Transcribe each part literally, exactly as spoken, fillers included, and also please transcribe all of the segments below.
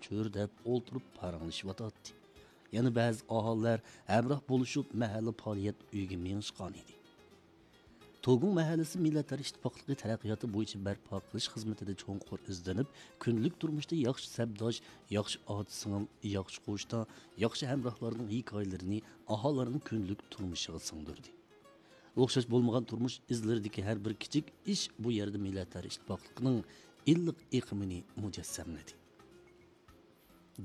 پۈر دەپ ئولتۇرۇپ پاراڭلىشىۋاتاتتى. يەنە بەزى ئاھالىلەر ھەمراھ بولۇشۇپ، مەھەللە پائالىيەت ئۆيىگە مېڭىشقانىدى. توگۇڭ مەھەللىسى مىللەتلەر ئىتتىپاقلىقى تەرەققىياتى بويىچە بەرپا قىلىش خىزمىتىدە چوڭقۇر ئىزدىنىپ، كۈندىلىك تۇرمۇشتا ياخشى سەپداش، ياخشى ئاتا-سىڭىل، ياخشى قوشنا، ياخشى ھەمراھلارنىڭ ھېكايىلىرىنى ئاھالىلەرنىڭ كۈندىلىك تۇرمۇشىغا سىڭدۈردى. ئوخشاش بولمىغان تۇرمۇش ئىزلىرىدىكى ھەر بىر كىچىك ئىش بۇ يەردە مىللەتلەر ئىتتىپاقلىقىنىڭ ئىللىق ئېقىمىنى مۇجەسسەملىدى.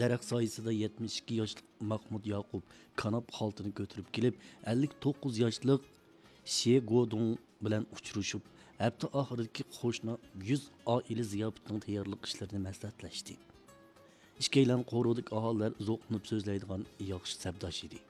دەرەخ سايىسىدا يەتمىش ئىككى ياشلىق ماخمۇت ياقۇپ كاناپ خالتىنى كۆتۈرۈپ كېلىپ، ئەللىك توققۇز ياشلىق شې گودۇڭ بىلەن ئۇچرىشىپ، ھەپتە ئاخىرىدىكى قوشنا يۈز ئائىلە زىياپىتىنىڭ تەييارلىق ئىشلىرىنى مەسلىھەتلەشتى. ئىككىيلەن قورۇدىكى ئاھالىلەر زوقلىنىپ سۆزلەيدىغان ياخشى سەپداش ئىدى.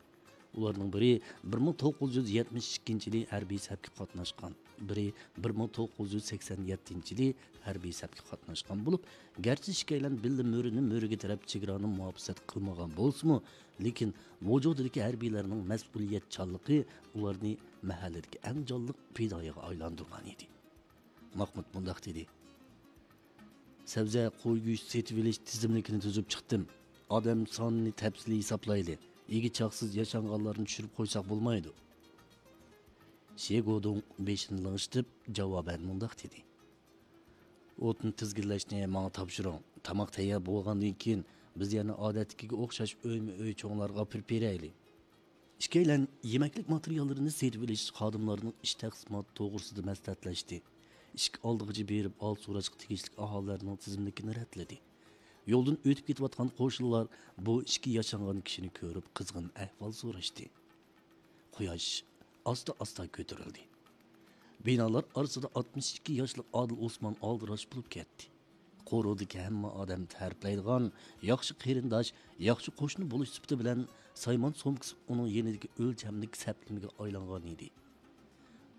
ئۇلارنىڭ بىرى بىر مىڭ توققۇز يۈز يەتمىش ئىككىنچى يىلى ھەربىي سەپكە قاتناشقان، بىرى بىر مىڭ توققۇز يۈز سەكسەن يەتتىنچى يىلى ھەربىي سەپكە قاتناشقان بولۇپ، گەرچە ئىككىيلەن بىللە مۆرىنى مۆرىگە تىرەپ چېگرانى مۇھاپىزەت قىلمىغان بولسىمۇ، لېكىن ۋۇجۇدىدىكى ھەربىيلەرنىڭ مەسئۇلىيەتچانلىقى ئۇلارنى مەھەللىدىكى ئەڭ جانلىق پىدائىيغا ئايلاندۇرغان ئىدى. ماخمۇت مۇنداق دېدى: سەۋزە، قوي گۆشى سېتىۋېلىش تىزىملىكىنى تۈزۈپ چىقتىم. ئادەم سانىنى تەپسىلىي ھېسابلايلى. ئىگە چاقسىز ياشانغانلارنى چۈشۈرۈپ قويساق بولمايدۇ. شېگودۇڭ بېشىنى لىڭشىتىپ، جاۋابەن مۇنداق دېدى: ئوتنى تىزگىنلەشنى ماڭا تاپشۇرۇڭ. تاماق تەييار بولغاندىن كېيىن، بىز يەنە ئادەتتىكىگە ئوخشاش ئۆيمۇ ئۆي چوڭلارغا ئاپىرىپ بېرەيلى. ئىككىيلەن يېمەكلىك ماتېرىياللىرىنى سېتىۋېلىش، خادىملارنىڭ ئىش تەقسىماتى توغرىسىدا مەسلىھەتلەشتى. ئىشىك ئالدىغىچە بېرىپ، ھال سوراشقا تېگىشلىك ئاھالىلەرنىڭ تىزىملىكىنى رەتلىدى. يولدىن ئۆتۈپ كېتىۋاتقان قوشنىلار بۇ ئىككى ياشانغان كىشىنى كۆرۈپ، قىزغىن ئەھۋال سوراشتى. قۇياش ئاستا-ئاستا كۆتۈرۈلدى. بىنالار ئارىسىدا ئاتمىش ئىككى ياشلىق ئادىل ئوسمان ئالدىراش بولۇپ كەتتى. قورۇدىكى ھەممە ئادەم تەرىپلەيدىغان ياخشى قېرىنداش، ياخشى قوشنا بولۇش سۈپىتى بىلەن سايمان سومكىسى ئۇنىڭ يېنىدىكى ئۆلچەملىك سەپلىمىگە ئايلانغان ئىدى.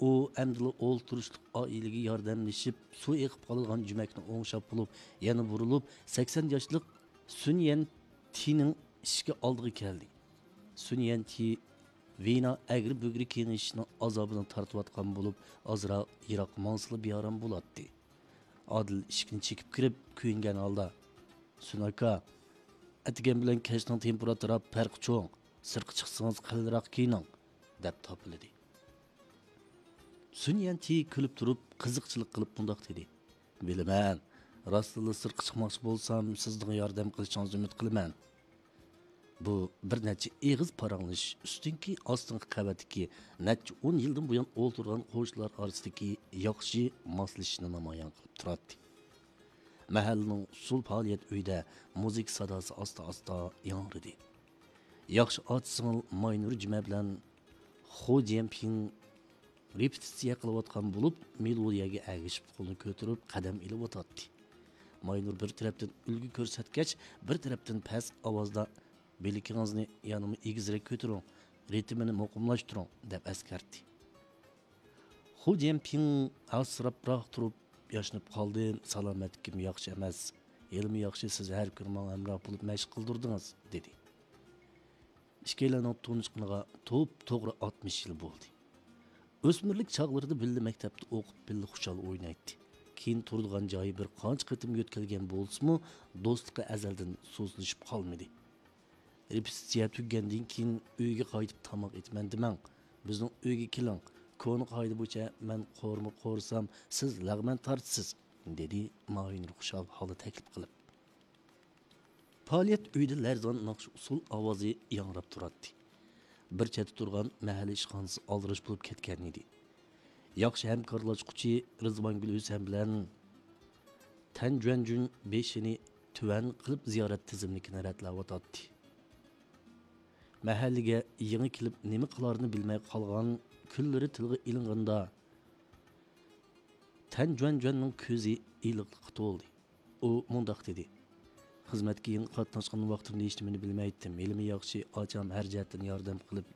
ئۇ ئەمدىلا ئولتۇرۇشلۇق ئائىلىگە ياردەملىشىپ، سۇ ئېقىپ قالىدىغان جۈمەكنى ئوڭشاپ بولۇپ، يەنە بۇرۇلۇپ، سەكسەن ياشلىق سۈن يەن تىنىڭ ئىشىكى ئالدىغا كەلدى. سۈن يەن تى ۋېنا ئەگرى-بۈگرى كېڭىشىشنىڭ ئازابىنى تارتىۋاتقان بولۇپ، ئازراق يىراققا ماڭسىلا بىئارام بولاتتى. ئادىل ئىشىكنى چېكىپ كىرىپ، كۆيۈنگەن ھالدا: سۈن ئاكا، ئەتىگەن بىلەن كەچنىڭ تېمپېراتۇرا پەرقى چوڭ، سىرتقا چىقسىڭىز قېلىنراق كىيىنىڭ، دەپ تاپىلىدى. سۈن يەنتى كۈلۈپ تۇرۇپ، قىزىقچىلىق قىلىپ مۇنداق دېدى: بىلىمەن، راستتىنلا سىرتقا چىقماقچى بولسام، سىزنىڭ ياردەم قىلىشىڭىزنى ئۈمىد قىلىمەن. بۇ بىر نەچچە ئېغىز پاراڭلىشىش ئۈستۈنكى ئاستىنقى قەۋەتتىكى نەچچە ئون يىلدىن بۇيان ئولتۇرغان قوشنىلار ئارىسىدىكى ياخشى ماسلىشىشنى نامايان قىلىپ تۇراتتى. مەھەللىنىڭ ئۇسسۇل پائالىيەت ئۆيىدە مۇزىكا ساداسى ئاستا-ئاستا ياڭرىدى. ياخشى ئاچا-سىڭىل ماينۇر جۈمە بىلەن خۇ جيەنپىڭ رېپېتىتسىيە قىلىۋاتقان بولۇپ، مېلودىيەگە ئەگىشىپ قولىنى كۆتۈرۈپ قەدەم ئېلىۋاتاتتى. ماينۇر بىر تەرەپتىن ئۈلگە كۆرسەتكەچ، بىر تەرەپتىن پەس ئاۋازدا: بىلىكىڭىزنى يەنىمۇ ئېگىزرەك كۆتۈرۈڭ، رىتىمىنى مۇقىملاشتۇرۇڭ، دەپ ئەسكەرتتى. خۇ جيەنپىڭ ئاسراپراق تۇرۇپ ياشىنىپ قالدى. سالامەتلىكىم ياخشى ئەمەس. ھېلىمۇ ياخشى، سىز ھەر كۈنى ماڭا ھەمراھ بولۇپ مەشىق قىلدۇردىڭىز، دېدى. ئىككىيلەننىڭ تونۇشقىنىغا توپتوغرا ئاتمىش يىل بولدى. ئۆسمۈرلۈك چاغلىرىدا بىللە مەكتەپتە ئوقۇپ، بىللە خۇشال ئوينايتتى. كېيىن تۇرىدىغان جايى بىر قانچە قېتىم يۆتكەلگەن بولسىمۇ، دوستلۇقى ئەزەلدىن سۇسلىشىپ قالمىدى. رېپېتىتسىيە تۈگىگەندىن كېيىن ئۆيگە قايتىپ تاماق ئېتىمەن دېمەڭ. بىزنىڭ ئۆيگە كېلىڭ. كونا قائىدە بويىچە مەن قورۇما قورۇسام، سىز لەغمەن تارتىسىز، دېدى ماينۇر خۇشال ھالدا تەكلىپ قىلىپ. پائالىيەت ئۆيىدە لەرزان ناخشا ئۇسسۇل ئاۋازى ياڭراپ تۇراتتى. بىر چەتتە تۇرغان مەھەللە ئىشخانىسى ئالدىراش بولۇپ كەتكەنىدى. ياخشى ھەمكارلاشقۇچى رىزۋانگۈل ھۈسەن بىلەن تەن جۈەنجۈن بېشىنى تۆۋەن قىلىپ زىيارەت تىزىملىكىنى رەتلەۋاتاتتى. مەھەللىگە يېڭى كېلىپ نېمە قىلارىنى بىلمەي قالغان كۈنلىرى تىلغا ئېلىنغاندا، تەن جۈەنجۈەننىڭ كۆزى ئىللىقلىققا تولدى. ئۇ مۇنداق دېدى: خىزمەتكە يېڭى قاتناشقان ۋاقتىمدا ھېچنېمىنى بىلمەيتتىم. ھېلىمۇ ياخشى، ئاچام ھەر جەھەتتىن ياردەم قىلىپ،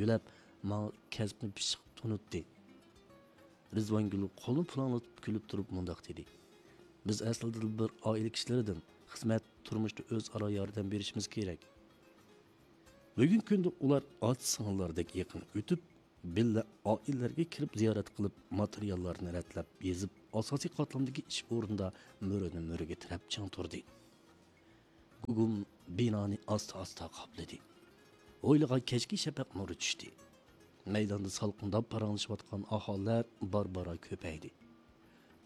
يۆلەپ، ماڭا كەسىپنى پىششىق تونۇتتى. رىزۋانگۈل قولىنى پۇلاڭلىتىپ كۈلۈپ تۇرۇپ مۇنداق دېدى: بىز ئەسلىدىلا بىر ئائىلە كىشىلىرىدىن، خىزمەت، تۇرمۇشتا ئۆزئارا ياردەم بېرىشىمىز كېرەك. بۈگۈنكى كۈندە ئۇلار ئاچا-سىڭىللاردەك يېقىن ئۆتۈپ، بىللە ئائىلىلەرگە كىرىپ زىيارەت قىلىپ، ماتېرىياللارنى رەتلەپ يېزىپ، ئاساسىي قاتلامدىكى ئىش ئورنىدا مۆرىنى مۆرىگە تىرەپ چىڭ تۇردى. گۇگۇم بىنانى ئاستا-ئاستا قاپلىدى. ھويلىغا كەچكى شەپەق نۇرى چۈشتى. مەيداندا سالقىنداپ پاراڭلىشىۋاتقان ئاھالىلەر بارا-بارا كۆپەيدى.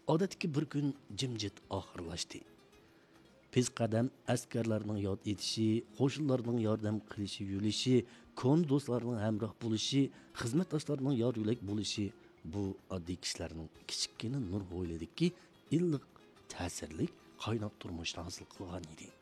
ئادەتتىكى بىر كۈن جىمجىت ئاخىرلاشتى. پېس قەدەم ئەسكەرلەرنىڭ ياد ئېتىشى، قوشۇنلارنىڭ ياردەم قىلىشى، يۈرۈشى، كونا دوستلارنىڭ ھەمراھ بولۇشى، خىزمەتداشلارنىڭ يار يۆلەك بولۇشى، بۇ ئاددىي كىشىلەرنىڭ كىچىككىنە نۇر ھويلىدىكى ئىللىق، تەسىرلىك، قايناق تۇرمۇشىنى ھاسىل قىلغان ئىدى.